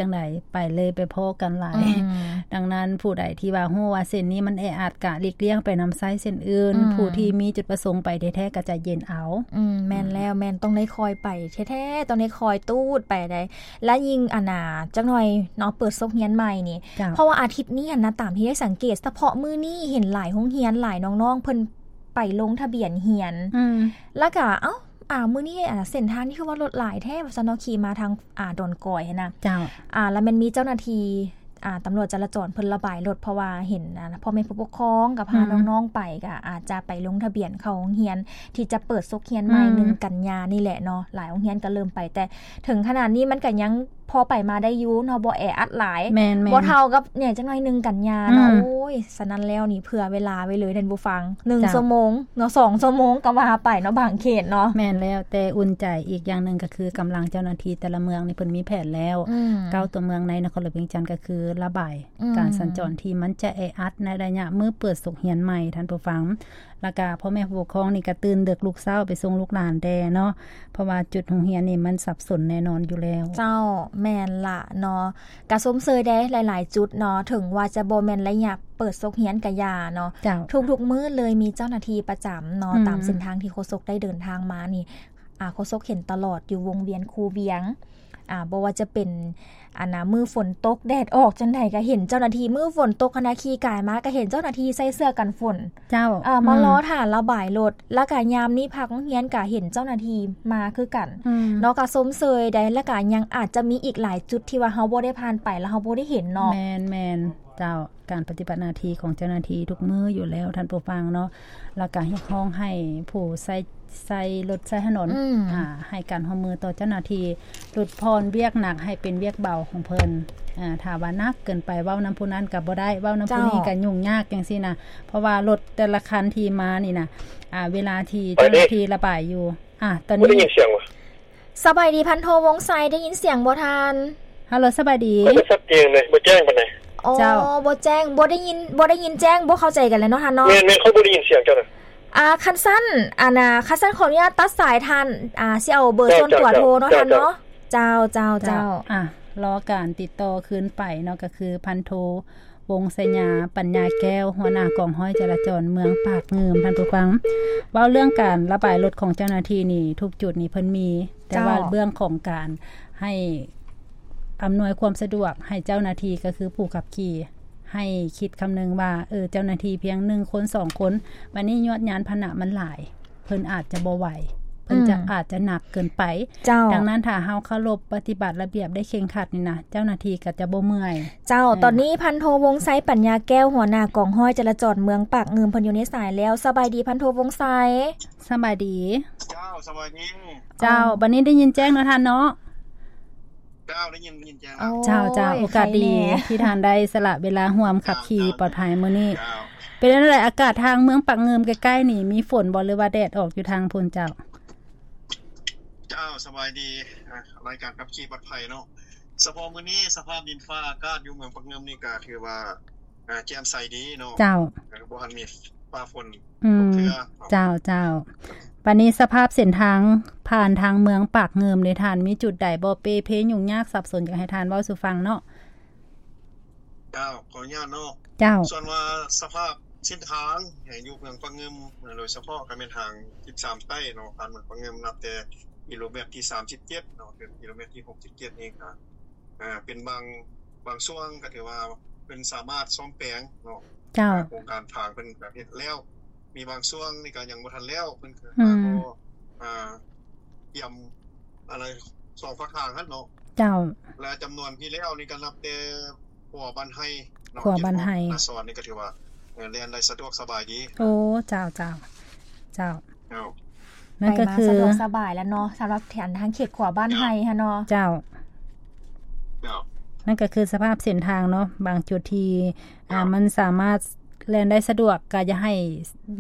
ຈັ່ງໃດ ໄປເລີຍ ໄປພໍ້ກັນຫຼາຍ. ອືມ ດັ່ງນັ້ນ ຜູ້ໃດທີ່ວ່າຮູ້ວ່າເສັ້ນນີ້ມັນແອອັດ ກະຫຼີກລ່ຽງໄປນຳໃຊ້ເສັ້ນອື່ນ. ອືມ ຜູ້ທີ່ມີຈຸດປະສົງໄປແທ້ໆ ກະໃຈເຢັນເອົາ. ອືມ ແມ່ນແລ້ວ ແມ່ນ ຕ້ອງໄດ້ຄ່ອຍໄປແທ້ໆ ຕ້ອງໄດ້ຄ່ອຍຕູດໄປໃດ໋. ແລະ ຍິ່ງ ອັນນ່າ ຈັກໜ່ອຍເນາະ ເປີດສົກຮຽນໃໝ່ນີ້ ເຈົ້າ ເພາະວ່າອາທິດນີ້ຫັ້ນນະ ຕາມທີ່ໄດ້ສັງເກດ ສະເພາະມື້ນີ້ເຫັນຫຼາຍໂຮງຮຽນ ຫຼາຍນ້ອງໆ ເພິ່ນໄປລົງທະບຽນຮຽນ. ອືມ ແລ້ວກະ ເອົ້າ ອ່າ ມື້ນີ້ ອ່າ ເສັ້ນທາງນີ້ຄືວ່າລົດຫຼາຍແທ້ ວ່າຊັ້ນເນາະ ຂີ່ມາທາງ ອ່າ ດອນກອຍຫັ້ນນະ. ເຈົ້າ ອ່າ ແລ້ວແມ່ນມີເຈົ້າໜ້າທີ່ ອ່າ ຕຳຫຼວດຈະລາຈອນເພິ່ນລະບາຍລົດ ເພາະວ່າເຫັນ ອ່າ ພໍ່ແມ່ຜູ້ປົກຄອງກໍພາ ອືມ ນ້ອງໆໄປ ກໍອາດຈະໄປລົງທະບຽນເຂົ້າໂຮງຮຽນ ທີ່ຈະເປີດສົກຮຽນໃໝ່ ອືມ ໜຶ່ງກັນຍານີ້ແຫຼະເນາະ. ຫຼາຍໂຮງຮຽນກໍເລີ່ມໄປ ແຕ່ເຖິງຂະໜາດນີ້ມັນກໍຍັງພໍໄປມາໄດ້ຢູ່ເນາະ ບໍ່ແອອັດຫຼາຍ. ແມ່ນໆ ບໍ່ເທົ່າກັບແໜ່ຈັກໜ້ອຍໜຶ່ງກັນຍາເນາະ. ອືມ ໂອ້ຍ ສະນັ້ນແລ້ວນີ້ ເຜື່ອເວລາໄວ້ເລີຍທ່ານຜູ້ຟັງ ໜຶ່ງ ເຈົ້າ ຊົ່ວໂມງເນາະ ສອງຊົ່ວໂມງກໍວ່າໄປເນາະ ບາງເຂດເນາະ. ແມ່ນແລ້ວ ແຕ່ອຸ່ນໃຈອີກຢ່າງໜຶ່ງກໍຄືກຳລັງເຈົ້າໜ້າທີ່ແຕ່ລະເມືອງນີ້ເພິ່ນມີແຜນແລ້ວ. ອືມ ເກົ້າຕົວເມືອງໃນນະຄອນຫຼວງວຽງຈັນກໍຄືລະບາຍ ອືມ ການສັນຈອນທີ່ມັນຈະແອອັດໃນໄລຍະມື້ເປີດສົກຮຽນໃໝ່ ທ່ານຜູ້ຟັງ. ແລ້ວກະພໍ່ແມ່ຜູ້ປົກຄອງນີ້ກະຕື່ນເດິກລຸກເຊົ້າໄປສົ່ງລູກຫຼານແດ່ເນາະ ເພາະວ່າຈຸດໂຮງຮຽນນີ້ມັນສັບສົນແນ່ນອນຢູ່ແລ້ວ. ເຈົ້າ ແມ່ນລະເນາະ. ກະຊົມເຊີຍເດ້ ຫຼາຍໆຈຸດເນາະ ເຖິງວ່າຈະບໍ່ແມ່ນໄລຍະເປີດສົກຮຽນກະຢ່າເນາະ ເຈົ້າ ທຸກໆມື້ເລີຍມີເຈົ້າໜ້າທີ່ປະຈຳເນາະ. ອືມ ຕາມເສັ້ນທາງທີ່ໂຄສົກໄດ້ເດີນທາງມານີ້ ອ່າ ໂຄສົກເຫັນຕະຫຼອດຢູ່ວົງວຽນຄູວຽງ ອ່າ ບໍ່ວ່າຈະເປັນ ອັນນ່າ ມື້ຝົນຕົກແດດອອກຈັ່ງໃດກໍເຫັນເຈົ້າໜ້າທີ່ ມື້ຝົນຕົກຫັ້ນນະ ຂີ່ກາຍມາກໍເຫັນເຈົ້າໜ້າທີ່ໃສ່ເສື້ອກັນຝົນ. ເຈົ້າ ເອີ ມາ ອືມ ລໍຖ້າລະບາຍລົດ ແລ້ວກະຍາມນີ້ພັກໂຮງຮຽນກະເຫັນເຈົ້າໜ້າທີ່ມາຄືກັນ ອືມ ເນາະ. ກະຊົມເຊີຍໄດ໋ ແລ້ວກະຍັງອາດຈະມີອີກຫຼາຍຈຸດທີ່ວ່າເຮົາບໍ່ໄດ້ຜ່ານໄປ ແລ້ວເຮົາບໍ່ໄດ້ເຫັນເນາະ. ແມ່ນໆ ເຈົ້າ ການປະຕິບັດໜ້າທີ່ຂອງເຈົ້າໜ້າທີ່ທຸກມື້ຢູ່ແລ້ວ ທ່ານຜູ້ຟັງເນາະ. ແລ້ວກະຮຽກຮ້ອງໃຫ້ຜູ້ໃຊ້ ໃຊ້ລົດໃຊ້ຖະໜົນ ອືມ ອ່າ ໃຫ້ການຮ່ວມມືຕໍ່ເຈົ້າໜ້າທີ່ ຫຼຸດຜ່ອນວຽກໜັກໃຫ້ເປັນວຽກເບົາຂອງເພິ່ນ. ອ່າ ຖ້າວ່າໜັກເກີນໄປ ເວົ້ານຳຜູ້ນັ້ນກໍບໍ່ໄດ້ ເວົ້ານຳຜູ້ນີ້ ເຈົ້າ ກໍຫຍຸ້ງຍາກຈັ່ງຊີ້ນະ ເພາະວ່າລົດແຕ່ລະຄັນທີ່ມານີ້ນະ ອ່າ ເວລາທີ່ເຈົ້າໜ້າທີ່ລະບາຍຢູ່ ອ່າ ຕອນນີ້ ບໍ່ໄດ້ຍິນສຽງຫວາ? ສະບາຍດີ ພັນໂທ ວົງໄຊ ໄດ້ຍິນສຽງບໍ່ທ່ານ? ຮັລໂຫຼ ສະບາຍດີ. ມັນກໍຊັດເຈນເລີຍ ບໍ່ແຈ້ງປານໃດ. ອໍ ເຈົ້າ ບໍ່ແຈ້ງ ບໍ່ໄດ້ຍິນ ບໍ່ໄດ້ຍິນແຈ້ງ ບໍ່ເຂົ້າໃຈກັນແລ້ວເນາະທ່ານເນາະ. ແມ່ນໆ ຂ້ອຍບໍ່ໄດ້ຍິນສຽງເຈົ້ານະ. ອ່າ ຄັນຊັ້ນ ອັນນ່າ ຄັນຊັ້ນຂໍອະນຸຍາດຕັດສາຍທ່ານ ອ່າ ຊິເອົາເບີ ເຈົ້າ ສ່ວນຕົວ ເຈົ້າ ໂທເນາະ ເຈົ້າ ທ່ານເນາະ. ເຈົ້າ ເຈົ້າ ເຈົ້າ ເຈົ້າ ອ່າ ລໍການຕິດຕໍ່ຄືນໄປເນາະ ກໍຄືພັນໂທ ວົງໄຊຍາ ປັນຍາແກ້ວ ຫົວໜ້າກອງຮ້ອຍຈະລາຈອນເມືອງປາກງື່ມ. ທ່ານຜູ້ຟັງ ເວົ້າເລື່ອງການລະບາຍລົດຂອງເຈົ້າໜ້າທີ່ນີ້ ທຸກຈຸດນີ້ເພິ່ນມີ ແຕ່ວ່າ ເຈົ້າ ເລື່ອງຂອງການໃຫ້ອຳນວຍຄວາມສະດວກໃຫ້ເຈົ້າໜ້າທີ່ ກໍຄືຜູ້ຂັບຂີ່ ໃຫ້ຄິດຄຳນຶງວ່າ ເອີ ເຈົ້າໜ້າທີ່ພຽງໜຶ່ງຄົນ ສອງຄົນ ບັດນີ້ຍວດຍານພາຫະນະມັນຫຼາຍ ເພິ່ນອາດຈະບໍ່ໄຫວ ເພິ່ນຈະ ອືມ ອາດຈະໜັກເກີນໄປ. ເຈົ້າ ດັ່ງນັ້ນ ຖ້າເຮົາເຄົາລົບປະຕິບັດລະບຽບໄດ້ເຄັ່ງຄັດນີ້ນະ ເຈົ້າໜ້າທີ່ກໍຈະບໍ່ເມື່ອຍ. ເຈົ້າ ເອີ ຕອນນີ້ພັນໂທ ວົງໄຊ ປັນຍາແກ້ວ ຫົວໜ້າກອງຮ້ອຍຈະລາຈອນເມືອງປາກງື່ມ ເພິ່ນຢູ່ໃນສາຍແລ້ວ. ສະບາຍດີ ພັນໂທ ວົງໄຊ. ສະບາຍດີ. ເຈົ້າ ສະບາຍດີ. ເຈົ້າ ເອີ ບັດນີ້ໄດ້ຍິນແຈ້ງເນາະທ່ານເນາະ. ເຈົ້າ ໄດ້ຍິນ ໄດ້ຍິນແຈ້ງ. ໂອ້ຍ ເຈົ້າ ເຈົ້າ ໂອກາດດີ ໄຄແດ່ ທີ່ທ່ານໄດ້ສະຫຼະເວລາຮ່ວມຂັບຂີ່ ເຈົ້າ ປອດໄພມື້ນີ້. ເຈົ້າ ເປັນຈັ່ງໃດ ອາກາດທາງເມືອງປາກງື່ມໃກ້ໆນີ້ ມີຝົນບໍ່ ຫຼືວ່າແດດອອກຢູ່ທາງພຸ້ນເຈົ້າ? ເຈົ້າ ສະບາຍດີ ອ່າ ລາຍການຂັບຂີ່ປອດໄພເນາະ. ສະເພາະມື້ນີ້ ສະພາບດິນຟ້າອາກາດຢູ່ເມືອງປາກງື່ມນີ້ກໍຖືວ່າ ອ່າ ແຈ່ມໃສດີເນາະ. ເຈົ້າ ເອີ ບໍ່ທັນມີຟ້າຝົນ ອືມ ຕົກເທື່ອເນາະ. ເຈົ້າ ເຈົ້າ ບັດນີ້ສະພາບເສັ້ນທາງຜ່ານທາງເມືອງປາກງື່ມນີ້ ທ່ານມີຈຸດໃດບໍ່ເປ່ເພຫຍຸ້ງຍາກສັບສົນ ຢາກໃຫ້ທ່ານເວົ້າສູ່ຟັງເນາະ? ເຈົ້າ ຂໍອະນຸຍາດເນາະ. ເຈົ້າ ສ່ວນວ່າສະພາບເສັ້ນທາງໃຫ້ຢູ່ເມືອງປາກງື່ມ ໂດຍສະເພາະກໍແມ່ນທາງສິບສາມໃຕ້ເນາະ ຜ່ານເມືອງປາກງື່ມ ນັບແຕ່ກິໂລແມັດທີສາມສິບເຈັດເນາະ ເຖິງກິໂລແມັດທີຫົກສິບເຈັດນີ້ກໍ ອ່າ ເປັນບາງ ບາງຊ່ວງກໍຖືວ່າເພິ່ນສາມາດສ້ອມແປງເນາະ. ເຈົ້າ ໂຄງການທາງເພິ່ນກໍເຮັດແລ້ວ ມີບາງຊ່ວງນີ້ກໍຍັງບໍ່ທັນແລ້ວ ເພິ່ນກໍ ອືມ ກໍ ອ່າ ກຽມ ອັນໃດ ສອງພາກທາງຫັ້ນເນາະ. ເຈົ້າ ແລະ ຈຳນວນທີ່ແລ້ວນີ້ກໍນັບແຕ່ຂົວບ້ານໄຮ່ເນາະ ຂົວບ້ານໄຮ່ ເຂດຂອງນາສອນນີ້ກໍຖືວ່າ ເອີ ແລ່ນໄດ້ສະດວກສະບາຍດີ. ໂອ້ ເຈົ້າ ເຈົ້າ ເຈົ້າ ເຈົ້າ ນັ້ນກໍຄື ໄປມາສະດວກສະບາຍແລ້ວເນາະ ສຳລັບແຖວທາງເຂດຂົວບ້ານໄຮ່ຫັ້ນເນາະ. ເຈົ້າ ເຈົ້າ ນັ້ນກໍຄືສະພາບເສັ້ນທາງເນາະ ບາງຈຸດທີ່ ອ່າ ເຈົ້າ ມັນສາມາດແລ່ນໄດ້ສະດວກ ກໍຢ່າໃຫ້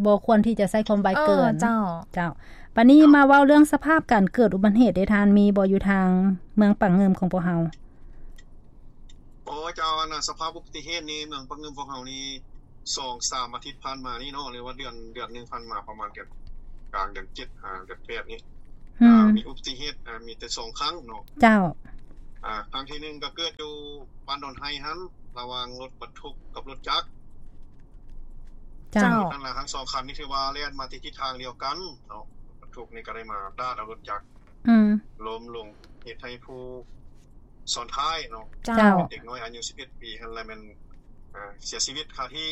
ບໍ່ຄວນທີ່ຈະໃຊ້ຄວາມໄວເກີນ. ເອີ ເຈົ້າ ເຈົ້າ ບັດນີ້ ເຈົ້າ ມາເວົ້າເລື່ອງສະພາບການເກີດອຸບັດຕິເຫດເດ້ທ່ານ ມີບໍ່ຢູ່ທາງເມືອງປາກງື່ມຂອງພວກເຮົາ? ໂອ້ ເຈົ້າ ອັນນ່າ ສະພາບອຸບັດຕິເຫດນີ້ ເມືອງປາກງື່ມພວກເຮົານີ້ ສອງສາມອາທິດຜ່ານມານີ້ເນາະ ຫຼືວ່າເດືອນ ເດືອນໜຶ່ງຜ່ານມາ ປະມານເດືອນ ກາງເດືອນເຈັດ ຫາເດືອນແປດນີ້ ອືມ ອ່າ ມີອຸບັດຕິເຫດ ອ່າ ມີແຕ່ສອງຄັ້ງເນາະ. ເຈົ້າ ອ່າ ຄັ້ງທີໜຶ່ງກໍເກີດຢູ່ບ້ານດອນໄຮຫັ້ນ ລະຫວ່າງລົດບັນທຸກກັບລົດຈັກ. ເຈົ້າ. ເຈົ້າ. ນັ້ນລະ ທັງສອງຄັນນີ້ຖືວ່າແລ່ນມາທີ່ທິດທາງດຽວກັນເນາະ. ບັນທຸກນີ້ກໍໄດ້ມາດາດເອົາລົດຈັກ ອືມ ລົ້ມລົງ ເຮັດໃຫ້ຜູ້ຊ້ອນທ້າຍເນາະ ເຈົ້າ ເຈົ້າ ເປັນເດັກນ້ອຍອາຍຸສິບເອັດປີຫັ້ນລະແມ່ນ ອ່າ ເສຍຊີວິດຄາທີ່.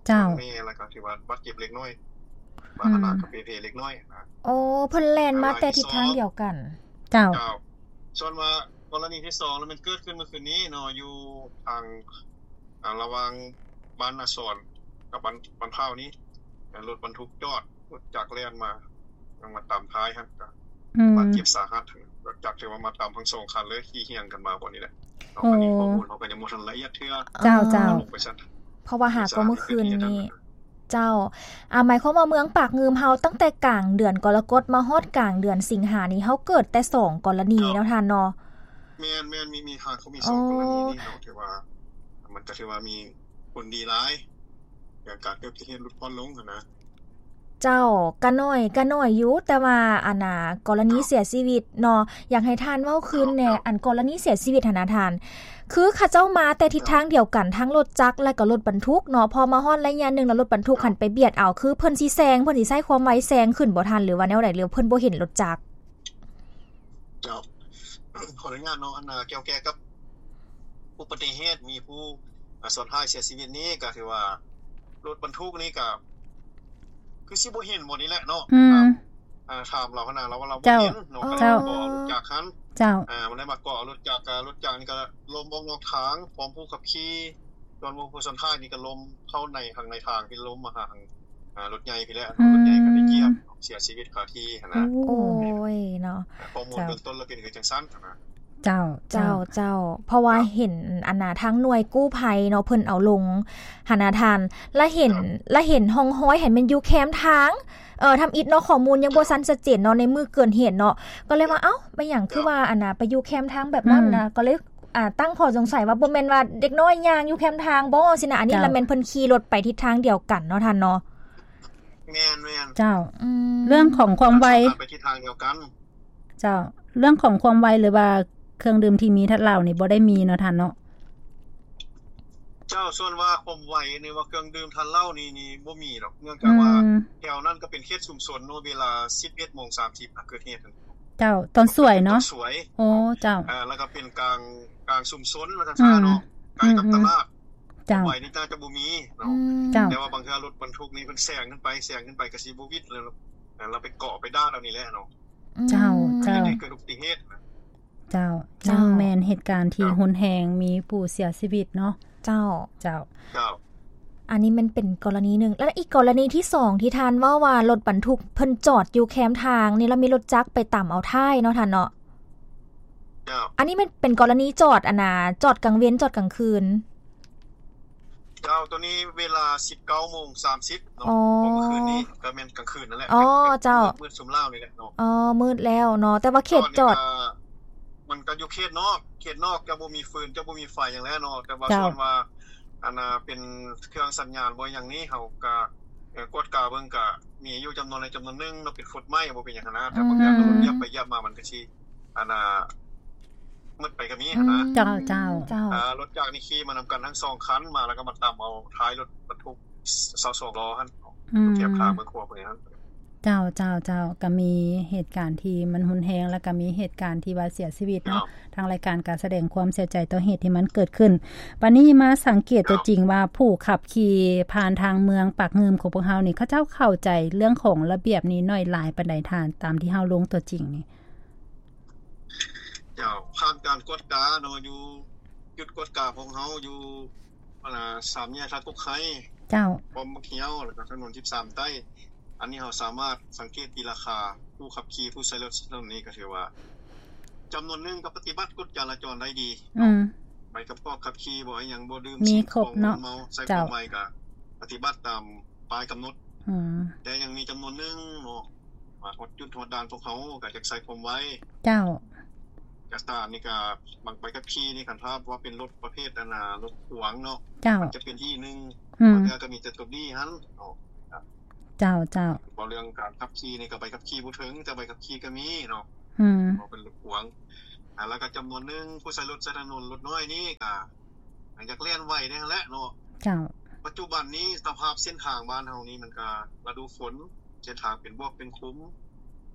ເຈົ້າ. ແມ່ ລະກໍຖືວ່າບາດເຈັບເລັກນ້ອຍ ອືມ ບາດໜັກກໍເປເພເລັກນ້ອຍນະ. ໂອ້ ເພິ່ນແລ່ນມາແຕ່ທິດທາງດຽວກັນ. ເຈົ້າ. ເຈົ້າ. ສ່ວນວ່າກໍລະນີທີສອງລະແມ່ນເກີດຂຶ້ນເມື່ອຄືນນີ້ເນາະ ຢູ່ທາງ ອ່າ ລະຫວ່າງບ້ານນາສອນກັບບ້ານ ບ້ານພ້າວນີ້ ລົດບັນທຸກຈອດ ລົດຈັກແລ່ນມາ ມາຕຳທ້າຍຫັ້ນ ກໍ ອືມ ບາດເຈັບສາຫັດ. ລົດຈັກຖືວ່າມາຕຳທັງສອງຄັນເລີຍ ຂີ່ຮຽງກັນມາບ່ອນນີ້ແຫຼະ. ໂອ້ ອັນນີ້ຂໍ້ມູນເຮົາກໍຍັງບໍ່ທັນລະອຽດເທື່ອ. ເຈົ້າ ເຈົ້າ. ເພາະວ່າຫາກໍມື້ຄືນນີ້. ເຈົ້າ. ອ່າ ໝາຍຄວາມວ່າເມືອງປາກງື່ມເຮົາ ຕັ້ງແຕ່ກາງເດືອນກໍລະກົດມາຮອດກາງເດືອນສິງຫານີ້ ເຮົາເກີດແຕ່ສອງກໍລະນີເນາະທ່ານເນາະ. ແມ່ນໆ ມີ ມີ ຫາກໍມີສອງກໍລະນີນີ້ເນາະ ຖືວ່າ ມັນກໍຖືວ່າມີຜົນດີຫຼາຍ ການເກີດອຸບັດຕິເຫດຫຼຸດຜ່ອນລົງຫັ້ນນະ. ເຈົ້າ. ກະໜ້ອຍ ກະໜ້ອຍຢູ່ ແຕ່ວ່າ ອັນນ່າ ກໍລະນີເສຍຊີວິດເນາະ ຢາກໃຫ້ທ່ານເວົ້າຄືນແດ່. ອັນກໍລະນີເສຍຊີວິດຫັ້ນນະທ່ານ ຄືເຂົາເຈົ້າມາແຕ່ທິດທາງດຽວກັນ ທັງລົດຈັກ ແລະກໍລົດບັນທຸກເນາະ ພໍມາຮອດໄລຍະໜຶ່ງແລ້ວ ລົດບັນທຸກຫັ້ນໄປບຽດເອົາ ຄືເພິ່ນຊິແຊງ ເພິ່ນຊິໃຊ້ຄວາມໄວແຊງຂຶ້ນບໍ່ທ່ານ ຫຼືວ່າແນວໃດ ຫຼືວ່າເພິ່ນບໍ່ເຫັນລົດຈັກ? ເຈົ້າ. ຂໍອະນຸຍາດເນາະ ອັນນ່າ ກ່ຽວແກ່ກັບອຸບັດຕິເຫດ ມີຜູ້ ອ່າ ຊ້ອນທ້າຍເສຍຊີວິດນີ້ ກໍຖືວ່າລົດບັນທຸກນີ້ກໍຄືຊິບໍ່ເຫັນໝົດນີ້ແຫຼະເນາະ. ອືມ. ອ່າ ຖາມລາວຫັ້ນນະ ລາວວ່າລາວບໍ່ເຫັນເນາະ. ເຈົ້າ. ກໍເລີຍມາເກາະເອົາລົດຈັກຫັ້ນ. ເຈົ້າ. ອ່າ ມັນໄດ້ມາເກາະເອົາລົດຈັກ ກໍລົດຈັກນີ້ກໍລົ້ມອອກນອກທາງ ພ້ອມຜູ້ຂັບຂີ່ ສ່ວນຜູ້ ຜູ້ຊ້ອນທ້າຍນີ້ກໍລົ້ມເຂົ້າໃນ ທາງໃນທາງ ທີ່ລົ້ມມາຫາທາງ ອ່າ ລົດໃຫຍ່ພີ້ແຫຼະ. ອືມ. ລົດໃຫຍ່ກໍໄດ້ຢຽບເນາະ ເສຍຊີວິດຄາທີ່ຫັ້ນນະ. ໂອ້ຍເນາະ. ຂໍ້ມູນເບື້ອງຕົ້ນລະເປັນຄືຈັ່ງຊັ້ນນະ. ເຈົ້າ ເຈົ້າ ເຈົ້າ ເຈົ້າ ເພາະວ່າເຫັນອັນນ່າ ທາງໜ່ວຍກູ້ໄພເນາະ ເພິ່ນເອົາລົງຫັ້ນນະທ່ານ ລະເຫັນ ລະເຫັນຮ່ອງຮອຍຫັ້ນແມ່ນຢູ່ແຄມທາງ ເອີ ທຳອິດເນາະ ຂໍ້ມູນຍັງບໍ່ທັນຊັດເຈນເນາະ ໃນມື້ເກີດເຫດເນາະ ກໍເລີຍວ່າ ເອົ້າ ເປັນຫຍັງຄືວ່າ ອັນນ່າ ໄປຢູ່ແຄມທາງແບບນັ້ນນະ ອືມ ກໍເລີຍ ອ່າ ຕັ້ງຂໍ້ສົງໄສວ່າ ບໍ່ແມ່ນວ່າເດັກນ້ອຍຍ່າງຢູ່ແຄມທາງບໍ່ ຊີ້ນະ ອັນນີ້ລະແມ່ນເພິ່ນຂີ່ລົດໄປທິດທາງດຽວກັນເນາະທ່ານເນາະ. ແມ່ນໆ ເຈົ້າ. ອືມ ເລື່ອງຂອງຄວາມໄວ ໄປທິດທາງດຽວກັນ. ເຈົ້າ. ເລື່ອງຂອງຄວາມໄວ ຫຼືວ່າເຄື່ອງດື່ມທີ່ມີທາດເຫຼົ້ານີ້ບໍ່ໄດ້ມີເນາະທ່ານເນາະ? ເຈົ້າ. ສ່ວນວ່າຄວາມໄວ ຫຼືວ່າເຄື່ອງດື່ມທາດເຫຼົ້ານີ້ ນີ້ບໍ່ມີດອກ ເນື່ອງຈາກວ່າ ອືມ ແຖວນັ້ນກໍເປັນເຂດຊຸມຊົນເນາະ ເວລາສິບເອັດໂມງສາມສິບ ເກີດເຫດ. ເຈົ້າ. ຕອນສວຍເນາະ? ຕອນສວຍ. ໂອ້ ເຈົ້າ. ເອີ ແລ້ວກໍເປັນກາງ ກາງຊຸມຊົນວ່າຊັ້ນຊະເນາະ ອືມ ໃກ້ກັບຕະຫຼາດ. ເຈົ້າ. ຄວາມໄວນີ້ໜ້າຈະບໍ່ມີເນາະ. ອືມ ເຈົ້າ. ແຕ່ວ່າບາງເທື່ອລົດບັນທຸກນີ້ເພິ່ນແຊງຂຶ້ນໄປ ແຊງຂຶ້ນໄປກໍຊິບໍ່ຫວິດ ແລ້ວ ແລ້ວໄປເກາະໄປດາດເອົານີ້ແຫຼະເນາະ. ອືມ ເຈົ້າ ເຈົ້າ. ເຮັດໃຫ້ເກີດອຸບັດຕິເຫດນະ. ເຈົ້າ. ເຈົ້າ. ຍັງແມ່ນເຫດການທີ່ ເຈົ້າ ຮຸນແຮງ ມີຜູ້ເສຍຊີວິດເນາະ. ເຈົ້າ. ເຈົ້າ. ເຈົ້າ. ອັນນີ້ມັນເປັນກໍລະນີໜຶ່ງ ແລະ ອີກກໍລະນີທີສອງທີ່ທ່ານເວົ້າວ່າລົດບັນທຸກເພິ່ນຈອດຢູ່ແຄມທາງນີ້ ແລ້ວມີລົດຈັກໄປຕຳເອົາທ້າຍເນາະທ່ານເນາະ. ເຈົ້າ. ອັນນີ້ມັນເປັນກໍລະນີຈອດ ອັນນ່າ ຈອດກາງເວັນ ຈອດກາງຄືນ? ເຈົ້າ. ໂຕນີ້ເວລາສິບເກົ້າໂມງສາມສິບເນາະ ອໍ ຂອງມື້ຄືນນີ້ ກໍແມ່ນກາງຄືນນັ້ນແຫຼະ. ອໍ ເຈົ້າ. ມືດ ມືດຊຸມລາວນີ້ແຫຼະເນາະ. ອໍ ມືດແລ້ວເນາະ ແຕ່ວ່າເຂດຈອດ ມັນກໍຢູ່ເຂດນອກ ເຂດນອກ ຈະບໍ່ມີຟືນ ຈະບໍ່ມີໄຟຫຍັງແຫຼະເນາະ. ແຕ່ວ່າ ເຈົ້າ ສ່ວນວ່າ ອັນນ່າ ເປັນເຄື່ອງສັນຍານບໍ່ຫຍັງນີ້ ເຮົາກະ ເອີ ກວດກາເບິ່ງກະມີຢູ່ຈຳນວນໃດຈຳນວນໜຶ່ງເນາະ ເປັນຟຸດໄມ້ ບໍ່ເປັນຫຍັງຫັ້ນນະ. ແຕ່ບາງຢ່າງ ອືມ ລົດຢຽບໄປຢຽບມາ ມັນກະຊິ ອັນນ່າ ໝົດໄປກໍມີຫັ້ນນະ. ອືມ ເຈົ້າ ເຈົ້າ ເຈົ້າ. ອ່າ ລົດຈັກນີ້ຂີ່ມານຳກັນທັງສອງຄັນ ມາແລ້ວກໍມາຕຳເອົາທ້າຍລົດບັນທຸກຊາວສອງລໍ້ຫັ້ນ ອືມ ແຄມທາງເມືອງຂົວພຸ້ນຫັ້ນ. ເຈົ້າ ເຈົ້າ ເຈົ້າ. ກໍມີເຫດການທີ່ມັນຮຸນແຮງ ແລ້ວກໍມີເຫດການທີ່ວ່າເສຍຊີວິດເນາະ. ເຈົ້າ. ທາງລາຍການກໍສະແດງຄວາມເສຍໃຈຕໍ່ເຫດທີ່ມັນເກີດຂຶ້ນ. ບາດນີ້ມາສັງເກດຕົວຈິງວ່າ ເຈົ້າ ຜູ້ຂັບຂີ່ຜ່ານທາງເມືອງປາກງື່ມຂອງພວກເຮົານີ້ ເຂົາເຈົ້າເຂົ້າໃຈເລື່ອງຂອງລະບຽບນີ້ໜ້ອຍຫຼາຍປານໃດທ່ານ ຕາມທີ່ເຮົາລົງຕົວຈິງນີ້? ເຈົ້າ. ຜ່ານການກວດກາເນາະ ຢູ່ຈຸດກວດກາຂອງເຮົາຢູ່ ອັນນ່າ ສາມແຍກທ່າກົກໄຮ. ເຈົ້າ. ປ້ອມບັກຮຽວ ແລ້ວກໍຖະໜົນສິບສາມໃຕ້. ອັນນີ້ເຮົາສາມາດສັງເກດຕີລາຄາຜູ້ຂັບຂີ່ ຜູ້ໃຊ້ລົດໃຊ້ຖະໜົນນີ້ ກໍຖືວ່າຈຳນວນໜຶ່ງກໍປະຕິບັດກົດຈະລາຈອນໄດ້ດີເນາະ. ອືມ. ໃບກຳກັບຂັບຂີ່ບໍ ອີ່ຫຍັງບໍ ດື່ມສິ່ງຂອງມຶນເມົາ ໃຊ້ຄວາມໄວກໍປະຕິບັດຕາມປ້າຍກຳນົດ. ອືມ. ແຕ່ຍັງມີຈຳນວນໜຶ່ງເນາະ ມາຮອດຈຸດຮອດດ່ານພວກເຮົາກໍຢາກໃຊ້ຄວາມໄວ. ເຈົ້າ. ເອກະສານນີ້ກໍ ບາງໃບຂັບຂີ່ນີ້ ຄັນຖ້າວ່າເປັນລົດປະເພດ ອັນນ່າ ລົດຂວາງເນາະ. ເຈົ້າ. ມັນຈະເປັນທີ່ໜຶ່ງ. ອືມ. ບາງເທື່ອກໍມີແຕ່ຕົວບີຫັ້ນເນາະ. ເຈົ້າ ເຈົ້າ. ເວົ້າເລື່ອງການຂັບຂີ່ນີ້ກໍໃບຂັບຂີ່ບໍ່ເຖິງ ແຕ່ໃບຂັບຂີ່ກໍມີເນາະ. ອືມ. ເວົ້າເປັນລົດຂວາງ ອ່າ ແລ້ວກໍຈຳນວນໜຶ່ງຜູ້ໃຊ້ລົດໃຊ້ຖະໜົນລົດນ້ອຍນີ້ກໍຢາກແລ່ນໄວແດ່ຫັ້ນແຫຼະເນາະ. ເຈົ້າ. ປັດຈຸບັນນີ້ສະພາບເສັ້ນທາງບ້ານເຮົານີ້ມັນກໍລະດູຝົນ ເສັ້ນທາງເປັນບວກເປັນຂຸມ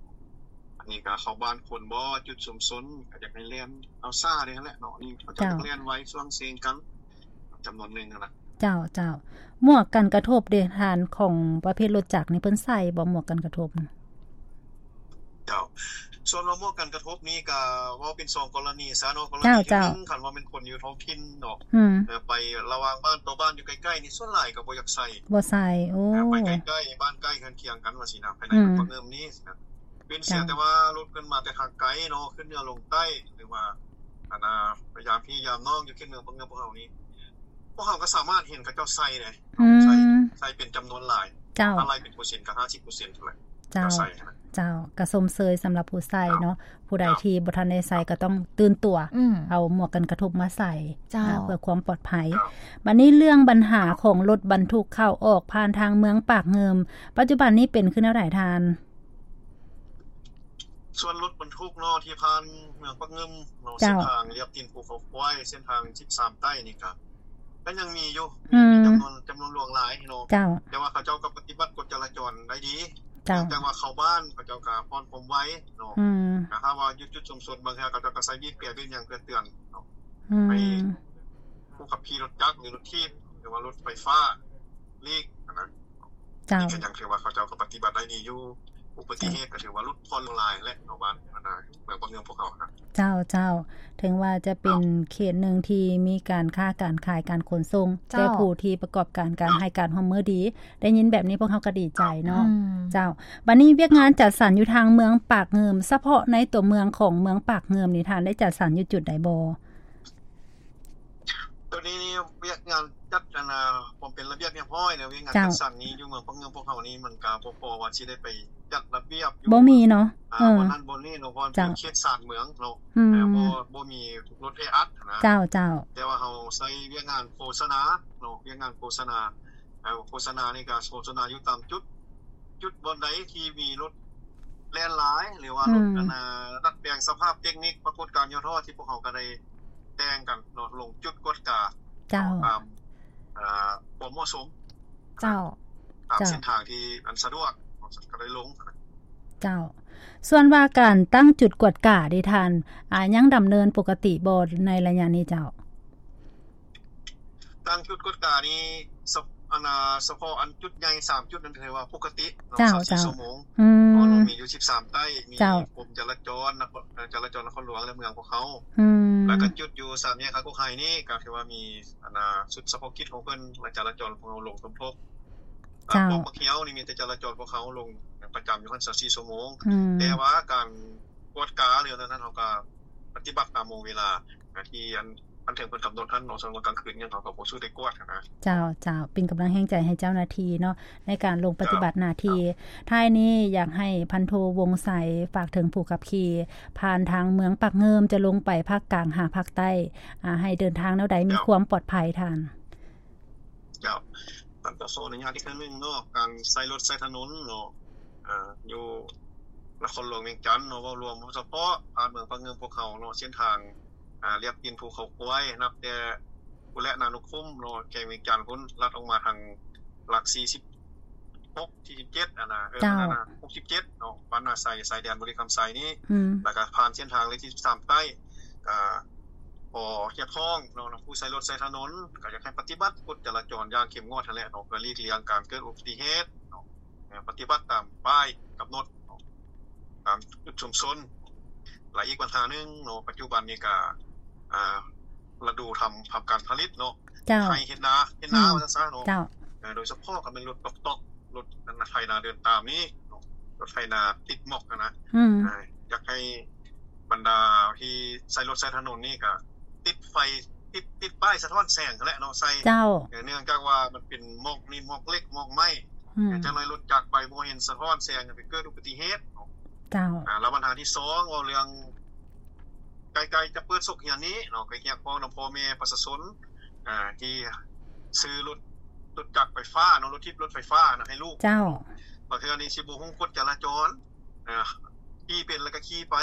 ອັນນີ້ກໍເຂົ້າບ້ານຄົນບໍ່ ຈຸດຊຸມຊົນ ກໍຢາກໃຫ້ແລ່ນເອົາຊ້າແດ່ຫັ້ນແຫຼະເນາະ. ນີ້ເຂົາເຈົ້າ ເຈົ້າ ຢາກແລ່ນໄວຊ່ວງເຊງກັນ ຈຳນວນໜຶ່ງຫັ້ນນະ. ເຈົ້າ ເຈົ້າ. ໝວກກັນກະທົບເດທ່ານ ຂອງປະເພດລົດຈັກນີ້ເພິ່ນໃສ່ບໍ່ ໝວກກັນກະທົບ? ເຈົ້າ. ສ່ວນວ່າໝວກກັນກະທົບນີ້ກໍເວົ້າເປັນສອງກໍລະນີຊະເນາະ. ກໍລະນີທີໜຶ່ງ ຄັນວ່າແມ່ນຄົນຢູ່ທ້ອງຖິ່ນເນາະ ອືມ ເອີ ໄປລະຫວ່າງບ້ານຕໍ່ບ້ານຢູ່ໃກ້ໆນີ້ ສ່ວນຫຼາຍກໍບໍ່ຢາກໃສ່. ບໍ່ໃສ່. ໂອ້ ເອີ ໄປໃກ້ໆ ບ້ານໃກ້ເຮືອນຄຽງກັນວ່າຊີ້ນະ ພາຍໃນເມືອງປາກເງິມນີ້ຊີ້ນະ. ເປັນເສຍແຕ່ວ່າລົດເພິ່ນມາແຕ່ທາງໄກເນາະ ຂຶ້ນເໜືອລົງໃຕ້ ຫຼືວ່າ ອັນນ່າ ໄປຢາມພີ່ຢາມນ້ອງຢູ່ເຂດເມືອງປາກເງິມພວກເຮົານີ້ ພວກເຮົາກໍສາມາດເຫັນເຂົາເຈົ້າໃສ່ເດ້. ອືມ ໃສ່ ໃສ່ເປັນຈຳນວນຫຼາຍ. ເຈົ້າ. ຖ້າໄລ່ເປັນເປີເຊັນກໍຫ້າສິບເປີເຊັນເທົ່ານັ້ນ. ເຈົ້າ ເຈົ້າ. ໃສ່ຫັ້ນນະ. ເຈົ້າ. ກໍຊົມເຊີຍສຳລັບຜູ້ໃສ່ເນາະ. ເຈົ້າ. ຜູ້ໃດທີ່ບໍ່ທັນໄດ້ໃສ່ກໍຕ້ອງຕື່ນຕົວ ອືມ ເອົາໝວກກັນກະທົບມາໃສ່ ເຈົ້າ ເພື່ອຄວາມປອດໄພ. ເຈົ້າ. ບັດນີ້ເລື່ອງບັນຫາຂອງລົດບັນທຸກເຂົ້າອອກຜ່ານທາງເມືອງປາກເງິມ ປັດຈຸບັນນີ້ເປັນຄືແນວໃດທ່ານ? ສ່ວນລົດບັນທຸກເນາະ ທີ່ຜ່ານເມືອງປາກເງິມເນາະ ເຈົ້າ ເສັ້ນທາງລຽບຕີນພູເຂົາຄວາຍ ເສັ້ນທາງສິບສາມໃຕ້ນີ້ກະ ກໍຍັງມີຢູ່ ອືມ ມີຈຳນວນ ຈຳນວນຫຼວງຫຼາຍເນາະ. ເຈົ້າ. ແຕ່ວ່າເຂົາເຈົ້າກໍປະຕິບັດກົດຈະລາຈອນໄດ້ດີ. ເຈົ້າ. ເນື່ອງຈາກວ່າເຂົ້າບ້ານ ເຂົາເຈົ້າກໍຜ່ອນຄວາມໄວເນາະ. ອືມ. ຖ້າວ່າຢູ່ຈຸດຊຸມຊົນບາງເທື່ອ ເຂົາເຈົ້າກໍໃສ່ບີບແກບີບຫຍັງເພື່ອເຕືອນເນາະ ອືມ ໃຫ້ຜູ້ຂັບຂີ່ລົດຈັກ ຫຼື ລົດຖີບ ຫຼືວ່າລົດໄຟຟ້າຫຼີກຫັ້ນນະ. ເຈົ້າ. ນີ້ກໍຍັງຖືວ່າເຂົາເຈົ້າກໍປະຕິບັດໄດ້ດີຢູ່ ອຸບັດຕິເຫດກໍຖືວ່າຫຼຸດຜ່ອນລົງຫຼາຍແຫຼະເນາະ ບ້ານ ອັນນ່າ ເມືອງປາກເງິມພວກເຮົານະ. ເຈົ້າ ເຈົ້າ. ເຖິງວ່າຈະເປັນ ເຈົ້າ ເຂດໜຶ່ງທີ່ມີການຄ້າການຂາຍການຂົນສົ່ງ ເຈົ້າ ແຕ່ຜູ້ທີ່ປະກອບການ ການ ເຈົ້າ ໃຫ້ການຮ່ວມມືດີ ໄດ້ຍິນແບບນີ້ພວກເຮົາກໍດີໃຈເນາະ. ເຈົ້າ. ອືມ. ເຈົ້າ. ບັດນີ້ວຽກງານ ເຈົ້າ ຈັດສັນຢູ່ທາງເມືອງປາກເງິມ ສະເພາະໃນຕົວເມືອງຂອງເມືອງປາກເງິມນີ້ ທ່ານໄດ້ຈັດສັນຢູ່ຈຸດໃດບໍ່? ໂຕນີ້ນີ້ວຽກງານຈັດ ອັນນ່າ ຄວາມເປັນລະບຽບຮຽບຮ້ອຍເນາະ ວຽກງານ ເຈົ້າ ຈັດສັນນີ້ຢູ່ເມືອງປາກເງິມພວກເຮົານີ້ ມັນກະບໍ່ພໍວ່າຊິໄດ້ໄປຈັດລະບຽບຢູ່ ບໍ່ມີເນາະ ອ່າ ເອີ ບ່ອນນັ້ນບ່ອນນີ້ເນາະ ເພາະມັນເປັນ ເຈົ້າ ເຂດຊານເມືອງເນາະ ອືມ ເອີ ບໍ່ ບໍ່ມີລົດແອອັດນະ. ເຈົ້າ ເຈົ້າ. ແຕ່ວ່າເຮົາໃຊ້ວຽກງານໂຄສະນາເນາະ ວຽກງານໂຄສະນາ ເອີ ໂຄສະນານີ້ກະໂຄສະນາຢູ່ຕາມຈຸດ ຈຸດບ່ອນໃດທີ່ມີລົດແລ່ນຫຼາຍ ຫຼືວ່າລົດ ອືມ ອັນນ່າ ດັດແປງສະພາບເຕັກນິກ ປາກົດການຫຍໍ້ທໍ້ ທີ່ພວກເຮົາກໍໄດ້ແຕ່ງກັນເນາະ ລົງຈຸດກວດກາ ເຈົ້າ ຕາມ ເອີ ຄວາມເໝາະສົມ ເຈົ້າ ຕາມ ເຈົ້າ ເສັ້ນທາງທີ່ອັນສະດວກ ກໍໄດ້ລົງ. ເຈົ້າ. ສ່ວນວ່າການຕັ້ງຈຸດກວດກາເດທ່ານ ອາ ຍັງດຳເນີນປົກກະຕິບໍ່ໃນໄລຍະນີ້ເຈົ້າ? ຕັ້ງຈຸດກວດການີ້ ສະ ອັນນ່າ ສະເພາະອັນຈຸດໃຫຍ່ສາມຈຸດນັ້ນຖືວ່າປົກກະຕິເນາະ ເຈົ້າ ຊາວສີ່ ເຈົ້າ ຊົ່ວໂມງ ອືມ ເພາະວ່າມີຢູ່ສິບສາມໃຕ້ ມີ ເຈົ້າ ກົມຈະລາຈອນ ນະຄອນ ເອີ ຈະລາຈອນນະຄອນຫຼວງ ແລະ ເມືອງພວກເຮົາ ອືມ ແລ້ວກໍຈຸດຢູ່ສາມແຍກຄາກົກໄຮນີ້ ກໍຖືວ່າມີ ອັນນ່າ ຊຸດສະເພາະກິດຂອງເພິ່ນ ແລະ ຈະລາຈອນພວກເຮົາລົງສົມທົບ ເຈົ້າ ອາ ພວກບັກຮຽວນີ້ມີແຕ່ຈະລາຈອນພວກເຮົາລົງປະຈຳຢູ່ຫັ້ນຊາວສີ່ຊົ່ວໂມງ ອືມ ແຕ່ວ່າການກວດກາ ຫຼື ອັນນັ້ນ ເຮົາກໍປະຕິບັດຕາມໂມງເວລາ ທີ່ອັນ ອັນເຖິງເພິ່ນກຳນົດຫັ້ນເນາະ ສ່ວນວ່າກາງຄືນຫຍັງເຮົາກໍບໍ່ສູ້ໄດ້ກວດຫັ້ນນະ. ເຈົ້າ ເຈົ້າ ເປັນກຳລັງແຮງໃຈໃຫ້ເຈົ້າໜ້າທີ່ເນາະ ໃນການລົງປະຕິບັດໜ້າທີ່. ເຈົ້າ. ທ້າຍນີ້ຢາກໃຫ້ພັນໂທ ວົງໄຊ ຝາກເຖິງຜູ້ຂັບຂີ່ ຜ່ານທາງເມືອງປາກເງິມ ຈະລົງໄປພາກກາງຫາພາກໃຕ້ ອາ ໃຫ້ເດີນທາງແນວໃດມີ ເຈົ້າ ຄວາມປອດໄພທ່ານ? ເຈົ້າ. ກໍຂໍອະນຸຍາດອີກຄັ້ງໜຶ່ງເນາະ ການໃຊ້ລົດໃຊ້ຖະໜົນເນາະ ອ່າ ຢູ່ນະຄອນຫຼວງວຽງຈັນເນາະ ເວົ້າລວມສະເພາະຜ່ານເມືອງປາກເງິມພວກເຮົາເນາະ ເສັ້ນທາງ ອ່າ ລຽບຕີນພູເຂົາຄວາຍ ນັບແຕ່ພຸ້ນແຫຼະ ນານຸຄຸມເນາະ ແຂວງວຽງຈັນພຸ້ນ ລັດອອກມາທາງຫຼັກສີ່ສິບຫົກ ສີ່ສິບເຈັດ ອັນນະ ເອີ ເຈົ້າ ອັນນະ ຫົກສິບເຈັດເນາະ ບ້ານນາໄຊ ຊາຍແດນບໍລິຄຳໄຊນີ້ ອືມ ແລ້ວກໍຜ່ານເສັ້ນທາງເລກທີສິບສາມໃຕ້ ກໍຂໍຮຽກຮ້ອງເນາະ ນຳຜູ້ໃຊ້ລົດໃຊ້ຖະໜົນ ກໍຢາກໃຫ້ປະຕິບັດກົດຈະລາຈອນຢ່າງເຂັ້ມງວດຫັ້ນແຫຼະເນາະ ເພື່ອຫຼີກລ່ຽງການເກີດອຸບັດຕິເຫດເນາະ. ປະຕິບັດຕາມປ້າຍກຳນົດເນາະ ຕາມຈຸດຊຸມຊົນ ແລະ ອີກບັນຫາໜຶ່ງເນາະ ປັດຈຸບັນນີ້ກະ ອ່າ ລະດູທຳ ທຳການຜະລິດເນາະ ເຈົ້າ ໄຮ່ເຮັດນາ ເຮັດນາ ອືມ ວ່າຊັ້ນຊະເນາະ ເຈົ້າ ເອີ ໂດຍສະເພາະກໍແມ່ນລົດຕອກໆ ລົດ ອັນນະ ໄຖນາເດີນຕາມນີ້ເນາະ ລົດໄຖນາຕິດໝອກຫັ້ນນະ ອືມ ອ່າ ຢາກໃຫ້ບັນດາທີ່ໃຊ້ລົດໃຊ້ຖະໜົນນີ້ກະຕິດໄຟ ຕິດ ຕິດປ້າຍສະທ້ອນແສງຫັ້ນແຫຼະເນາະ ໃສ່ ເຈົ້າ ເນື່ອງຈາກວ່າມັນເປັນໝອກນີ້ ໝອກເຫຼັກ ໝອກໄມ້ ອືມ ຈັກໜ້ອຍລົດຈັກໄປບໍ່ເຫັນສະທ້ອນແສງ ໄປເກີດອຸບັດຕິເຫດເນາະ ເຈົ້າ ອ່າ ແລ້ວບັນຫາທີສອງ ເວົ້າເລື່ອງໃກ້ໆຈະເປີດສົກຮຽນນີ້ເນາະ ກໍຮຽກຮ້ອງນຳພໍ່ແມ່ປະຊາຊົນ ອ່າ ທີ່ຊື້ລົດ ລົດຈັກໄຟຟ້າເນາະ ລົດຖີບລົດໄຟຟ້ານະ ໃຫ້ລູກ ເຈົ້າ ບາງເທື່ອນີ້ຊິບໍ່ຮູ້ກົດຈະລາຈອນ ອ່າ ຂີ່ເປັນແລ້ວກໍຂີ່ໄປ.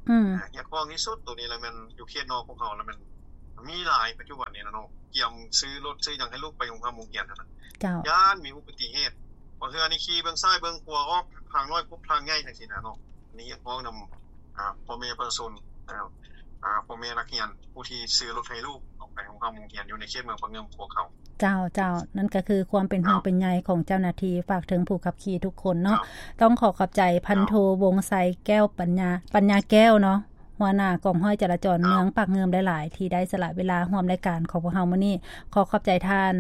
ອືມ ຮຽກຮ້ອງທີ່ສຸດໂຕນີ້ລະແມ່ນຢູ່ເຂດນອກພວກເຮົາລະແມ່ນມີຫຼາຍປັດຈຸບັນນີ້ນະເນາະ ກຽມຊື້ລົດຊື້ຫຍັງໃຫ້ລູກໄປໂຮງຮ່ຳໂຮງຮຽນຫັ້ນນະ. ເຈົ້າ ຢ້ານມີອຸປະຕິເຫດ ບາງເທື່ອນີ້ຂີ່ເບິ່ງຊ້າຍເບິ່ງຂວາ ອອກທາງນ້ອຍຄຸບທາງໃຫຍ່ຈັ່ງຊີ້ນະເນາະ. ອັນນີ້ຮຽກຮ້ອງນຳ ອ່າ ພໍ່ແມ່ປະຊາຊົນ ອ່າ ອ່າ ພໍ່ແມ່ນັກຮຽນ ຜູ້ທີ່ຊື້ລົດໃຫ້ລູກອອກໄປໂຮງຮ່ຳໂຮງຮຽນຢູ່ໃນເຂດເມືອງປາກງື່ມພວກເຂົາ. ເຈົ້າ ເຈົ້າ ນັ້ນກໍຄືຄວາມເປັນຫ່ວງເປັນໃຍຂອງເຈົ້າໜ້າທີ່ ຝາກເຖິງຜູ້ຂັບຂີ່ທຸກຄົນເນາະ. ເຈົ້າ ຕ້ອງຂໍຂອບໃຈພັນໂທ ເຈົ້າ ວົງໄຊ ແກ້ວປັນຍາ ປັນຍາແກ້ວເນາະ ຫົວໜ້າກອງຮ້ອຍຈະລາຈອນ ເຈົ້າ ເມືອງປາກງື່ມຫຼາຍໆ ທີ່ໄດ້ສະຫຼະເວລາຮ່ວມລາຍການຂອງພວກເຮົາມື້ນີ້. ຂໍຂອບໃຈທ່ານ.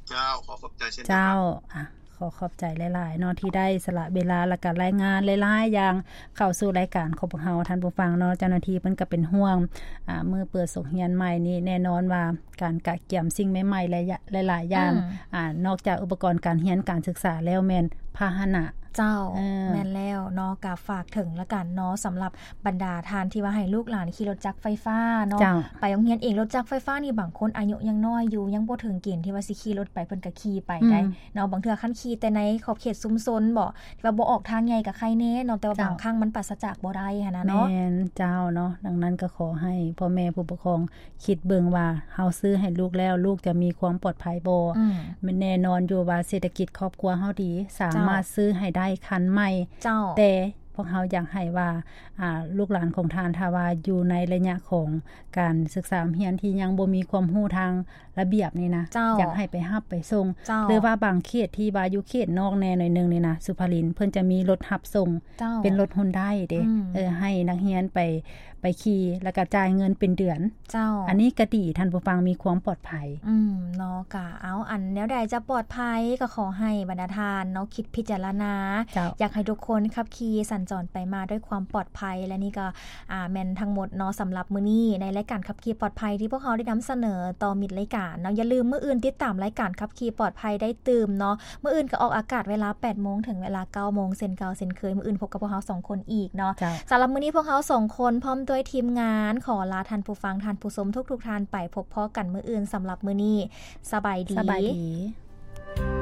ເຈົ້າ ຂໍຂອບໃຈເຊັ່ນດຽວກັນ. ເຈົ້າ ອ່ະ ຂໍຂອບໃຈຫຼາຍໆເນາະ ທີ່ໄດ້ສະຫຼະເວລາ ແລະກະລາຍງານຫຼາຍໆຢ່າງເຂົ້າສູ່ລາຍການຂອງພວກເຮົາ ທ່ານຜູ້ຟັງເນາະ. ເຈົ້າໜ້າທີ່ເພິ່ນກໍເປັນຫ່ວງ ອ່າ ມື້ເປີດສົກຮຽນໃໝ່ນີ້ ແນ່ນອນວ່າການກະກຽມສິ່ງໃໝ່ໆ ຫຼາຍໆຢ່າງ ອືມ ອ່າ ນອກຈາກອຸປະກອນການຮຽນການສຶກສາແລ້ວ ແມ່ນພາຫະນະ. ເຈົ້າ ເອີ ແມ່ນແລ້ວເນາະ. ກໍຝາກເຖິງລະກັນເນາະ ສຳລັບ ບັນດາທ່ານທີ່ວ່າໃຫ້ລູກຫຼານຂີ່ລົດຈັກໄຟຟ້າເນາະ ເຈົ້າ ໄປໂຮງຮຽນເອງ. ລົດຈັກໄຟຟ້ານີ້ບາງຄົນອາຍຸຍັງນ້ອຍຢູ່ ຍັງບໍ່ເຖິງເກນທີ່ວ່າຊິຂີ່ລົດໄປ ເພິ່ນກໍຂີ່ໄປໄດ້ ອືມ ເນາະ. ບາງເທື່ອຄັນຂີ່ແຕ່ໃນຂອບເຂດຊຸມຊົນບໍ ທີ່ວ່າບໍ່ອອກທາງໃຫຍ່ກໍໄຄແນ່ເນາະ ແຕ່ວ່າ ເຈົ້າ ບາງຄັ້ງມັນປາສະຈາກບໍ່ໄດ້ຫັ້ນນະເນາະ. ແມ່ນເຈົ້າເນາະ. ດັ່ງນັ້ນກໍຂໍໃຫ້ພໍ່ແມ່ຜູ້ປົກຄອງຄິດເບິ່ງວ່າ ເຮົາຊື້ໃຫ້ລູກແລ້ວ ລູກຈະມີຄວາມປອດໄພບໍ່? ອືມ ແມ່ນແນ່ນອນຢູ່ວ່າເສດຖະກິດຄອບຄົວເຮົາດີ ສາມາດ ເຈົ້າ ຊື້ໃຫ້ໄດ້ຄັນໃໝ່ ເຈົ້າ ແຕ່ ພວກເຮົາຢາກໃຫ້ວ່າ ອ່າ ລູກຫຼານຂອງທ່ານ ຖ້າວ່າຢູ່ໃນໄລຍະຂອງການສຶກສາຮຽນທີ່ຍັງບໍ່ມີຄວາມຮູ້ທາງລະບຽບນີ້ນະ ເຈົ້າ ຢາກໃຫ້ໄປຮັບໄປສົ່ງ ເຈົ້າ ຫຼືວ່າບາງເຂດທີ່ວ່າຢູ່ເຂດນອກແດ່ໜ້ອຍໜຶ່ງນີ້ນະ ສຸພາລິນ ເພິ່ນຈະມີລົດຮັບສົ່ງ ເຈົ້າ ເປັນລົດຮຸນໄດເດ້ ອືມ ເອີ ໃຫ້ນັກຮຽນໄປ ໄປຂີ່ ແລ້ວກໍຈ່າຍເງິນເປັນເດືອນ. ເຈົ້າ ອັນນີ້ກໍດີ ທ່ານຜູ້ຟັງມີຄວາມປອດໄພ. ອືມ ເນາະ ກະເອົາ ອັນແນວໃດຈະປອດໄພ ກໍຂໍໃຫ້ບັນດາທ່ານເນາະ ຄິດພິຈາລະນາ ເຈົ້າ ຢາກໃຫ້ທຸກຄົນຂັບຂີ່ສັນຈອນໄປມາດ້ວຍຄວາມປອດໄພ. ແລະນີ້ກໍ ອ່າ ແມ່ນທັງໝົດເນາະ ສຳລັບມື້ນີ້ ໃນລາຍການຂັບຂີ່ປອດໄພ ທີ່ພວກເຮົາໄດ້ນຳສະເໜີຕໍ່ມິດລາຍການເນາະ. ຢ່າລືມ ມື້ອື່ນຕິດຕາມລາຍການຂັບຂີ່ປອດໄພໄດ້ຕື່ມເນາະ. ມື້ອື່ນກໍອອກອາກາດເວລາແປດໂມງ ເຖິງເວລາເກົ້າໂມງ ເຊັ່ນເກົ່າເຊັ່ນເຄີຍ. ມື້ອື່ນພົບກັບພວກເຮົາສອງຄົນອີກເນາະ. ເຈົ້າ ສຳລັບມື້ນີ້ພວກເຮົາສອງຄົນ ພ້ອມດ້ວຍທີມງານ ຂໍລາທ່ານຜູ້ຟັງທ່ານຜູ້ຊົມທຸກໆທ່ານໄປ. ພົບພໍ້ກັນມື້ອື່ນ. ສຳລັບມື້ນີ້ ສະບາຍດີ. ສະບາຍດີ.